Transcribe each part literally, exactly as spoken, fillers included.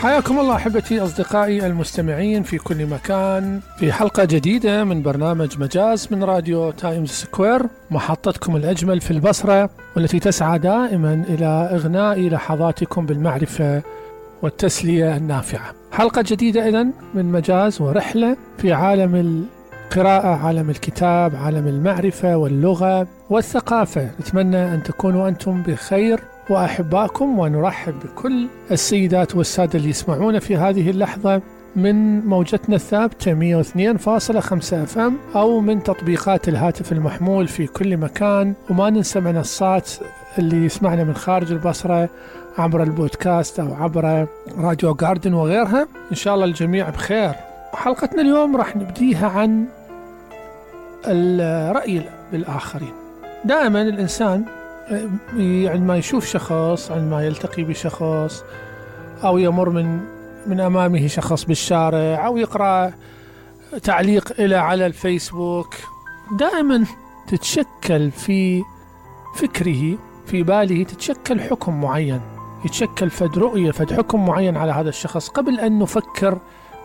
حياكم الله أحبتي أصدقائي المستمعين في كل مكان في حلقة جديدة من برنامج مجاز من راديو تايمز سكوير، محطتكم الأجمل في البصرة والتي تسعى دائما إلى إغناء لحظاتكم بالمعرفة والتسلية النافعة. حلقة جديدة إذن من مجاز ورحلة في عالم القراءة، عالم الكتاب، عالم المعرفة واللغة والثقافة. نتمنى أن تكونوا أنتم بخير وأحباكم، ونرحب بكل السيدات والسادة اللي يسمعون في هذه اللحظة من موجتنا الثابتة مئة واثنين فاصلة خمسة اف ام أو من تطبيقات الهاتف المحمول في كل مكان. وما ننسى منصات اللي يسمعنا من خارج البصرة عبر البودكاست أو عبر راديو جاردن وغيرها. إن شاء الله الجميع بخير. حلقتنا اليوم راح نبديها عن الرأي بالآخرين. دائما الإنسان عندما يشوف شخص، عندما يلتقي بشخص أو يمر من من أمامه شخص بالشارع أو يقرأ تعليق إلى على الفيسبوك، دائما تتشكل في فكره في باله تتشكل حكم معين، يتشكل فد رؤية فد حكم معين على هذا الشخص قبل أن نفكر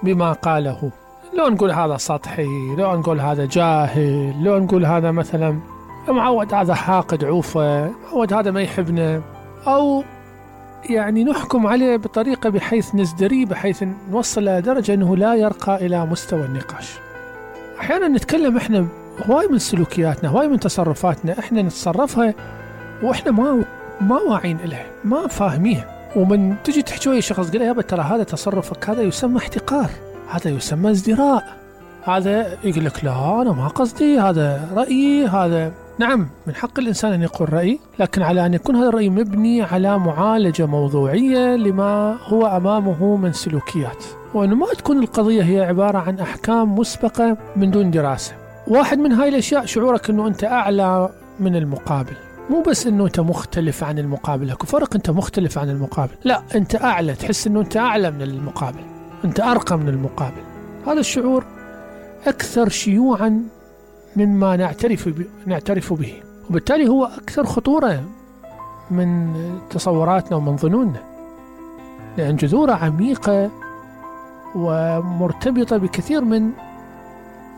بما قاله. لو نقول هذا سطحي، لو نقول هذا جاهل، لو نقول هذا مثلا معود هذا حاقد عوفة، معود هذا ما يحبنا، أو يعني نحكم عليه بطريقة بحيث نزدري، بحيث نوصل إلى درجة أنه لا يرقى إلى مستوى النقاش. أحيانا نتكلم إحنا هواي من سلوكياتنا، هواي من تصرفاتنا إحنا نتصرفها وإحنا ما ما واعين إلها، ما فاهميها. ومن تجي تحكي ويا شخص قال يا أبا ترى هذا تصرفك هذا يسمى احتقار، هذا يسمى ازدراء، هذا يقول لك لا أنا ما قصدي، هذا رأيي، هذا نعم من حق الإنسان أن يقول رأي، لكن على أن يكون هذا الرأي مبني على معالجة موضوعية لما هو أمامه من سلوكيات، وأنه ما تكون القضية هي عبارة عن أحكام مسبقة من دون دراسة. واحد من هاي الأشياء شعورك أنه أنت أعلى من المقابل، مو بس أنه أنت مختلف عن المقابل، هكو فرق أنت مختلف عن المقابل، لا أنت أعلى، تحس أنه أنت أعلى من المقابل، أنت أرقى من المقابل. هذا الشعور أكثر شيوعا مما نعترف نعترف به، وبالتالي هو أكثر خطورة من تصوراتنا ومن ظنوننا، لأن جذوره عميقة ومرتبطة بكثير من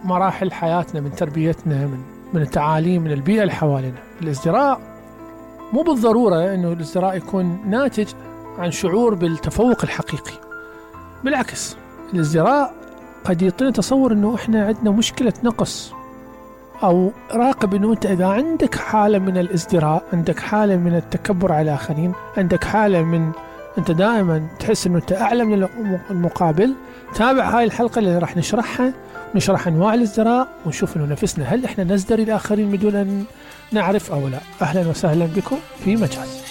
مراحل حياتنا، من تربيتنا، من من التعاليم، من البيئة اللي حوالينا. الازدراء مو بالضرورة أنه الازدراء يكون ناتج عن شعور بالتفوق الحقيقي، بالعكس الازدراء قد يعطينا تصور أنه إحنا عندنا مشكلة نقص، أو راقب أنه أنت إذا عندك حالة من الازدراء، عندك حالة من التكبر على الآخرين، عندك حالة من أنت دائما تحس أنه أنت أعلى من المقابل، تابع هاي الحلقة اللي راح نشرحها، نشرح أنواع الازدراء ونشوف أنه نفسنا هل إحنا نزدري الآخرين بدون أن نعرف أو لا. أهلا وسهلا بكم في مجاز.